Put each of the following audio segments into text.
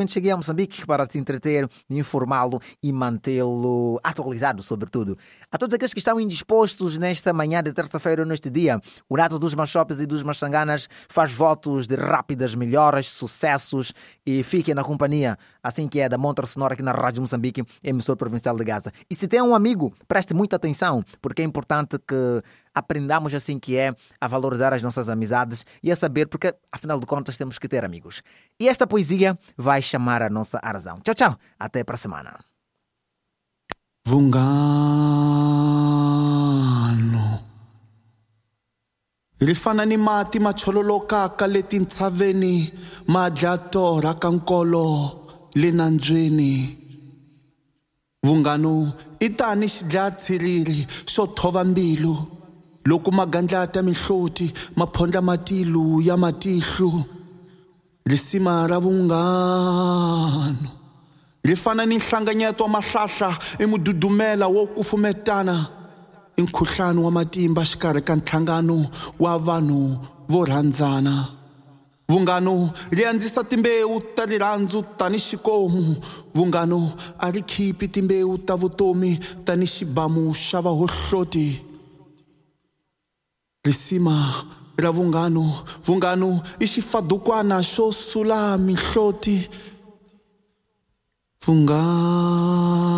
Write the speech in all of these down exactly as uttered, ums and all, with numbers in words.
Cheguei a Moçambique para te entreter, informá-lo e mantê-lo atualizado, sobretudo. A todos aqueles que estão indispostos nesta manhã de terça-feira, neste dia, o Nato dos Machopes e dos Machanganas faz votos de rápidas melhoras, sucessos e fiquem na companhia, assim que é da Montra Sonora aqui na Rádio Moçambique, emissor provincial de Gaza. E se tem um amigo, preste muita atenção, porque é importante que aprendamos assim que é a valorizar as nossas amizades e a saber, porque afinal de contas temos que ter amigos. E esta poesia vai chamar a nossa razão. Tchau, tchau. Até para a semana. Vungano ri fana ni mati ma chololokaka le tintshaveni ma dya torha ka nkolo le nandzweni. Vungano i tani xidlatsiriri xo thova mbilu loko magandlati ya mihloti ma phondla matilu ya matihlo. Risima ra vunghano ri fana ni nhlanganyeto wa mahlahla i mududumela wo kufumetana i nkhuhlano wa matimba xikarhi ka nhlangano wa vanhu vo rhandzana. Vunghano ri andzisa timbewu ta rirhandzu tani xikomu. Vunghano a ri khipi timbewu ta vutomi tani xibamu xa vahohloti. Risima ra vunghano, vunghano i xifadukwana xo sula mihloti. Vunghano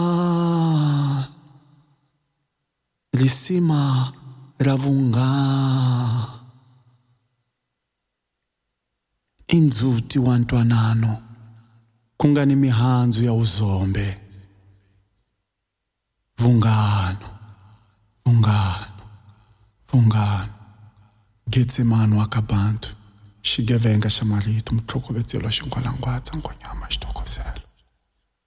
risima ra vunghano i ndzhuti wa ntwanano ku nga ni mihandzu ya vuzombe. Vunghano, vunghano, vunghano. Getsemani wa ka bantu xigevenga xa marito mutlhokovetselo xingwalangwadza nghonyama xi